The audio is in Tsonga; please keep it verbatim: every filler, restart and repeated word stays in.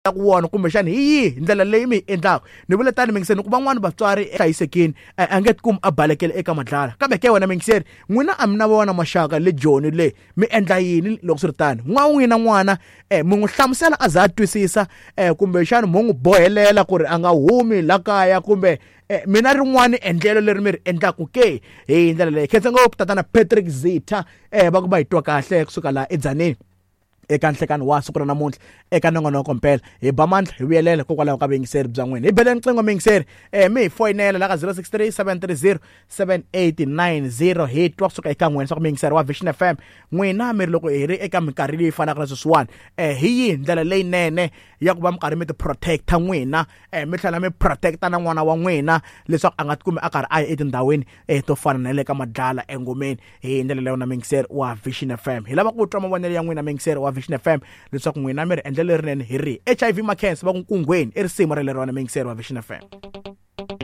Ku wona kumbexani hi yihi ndlela leyi mi yi endlaka? Ni vule tani, mingiseni, ku van'wani vatswari hlayisekini, a nge tikumi a balekele eka madlala. Kambe ke wena mingiseri, n'wina a mi na vona maxaka le Joni le, mi endla yini loko swi ri tani? N'wa n'wina n'wana um mi n'wi hlamusela a za a twisisa, um kumbexani mo n'wi bohelela ku ri a nga humi la kaya, kumbe eh, mina rin'wani endlelo leri mi ri endlaku ke hi ndlela leyi? Khensa ngopfu tatana Patrick Zita, eh va ku va hi twa kahle kusuka laha eDzaneni eka nhlekani wa siku ra namuntlha eka nongonoko mpela. Hi ba mandla hi vuyelela hikokwalaho ka vuyingiseri bya n'wina. Hi beleni nqingho, muyingiseri, um mi hi foyinela la ka zero six three, seven three zero, seven eight nine zero, hi twa kusuka eka n'wina swa ku muyingiseri wa Vision F M, n'wina mi ri loko hi ri eka minkarhi leyi fanaka na sweswiwani, um hi yihi ndlela leyinene ya ku va mi karhi mi ti protecta n'wina, um mi tlhela mi protecta na n'wana wa n'wina leswaku a nga tikumi a karhi a ya etindhawini um to fana na le ka madlala engomeni hi ndlela leyo? Na muyingiseri wa Vision F M, hi lava ku twa mavonelo ya n'wina, muyingiseri wa Vision F M, leswaku n'wina mi ri endlelo lerinene hi rihi. H I V Mackenzie va ku Nkungweni i risimu ra lerona, muyingiseri wa Vision F M.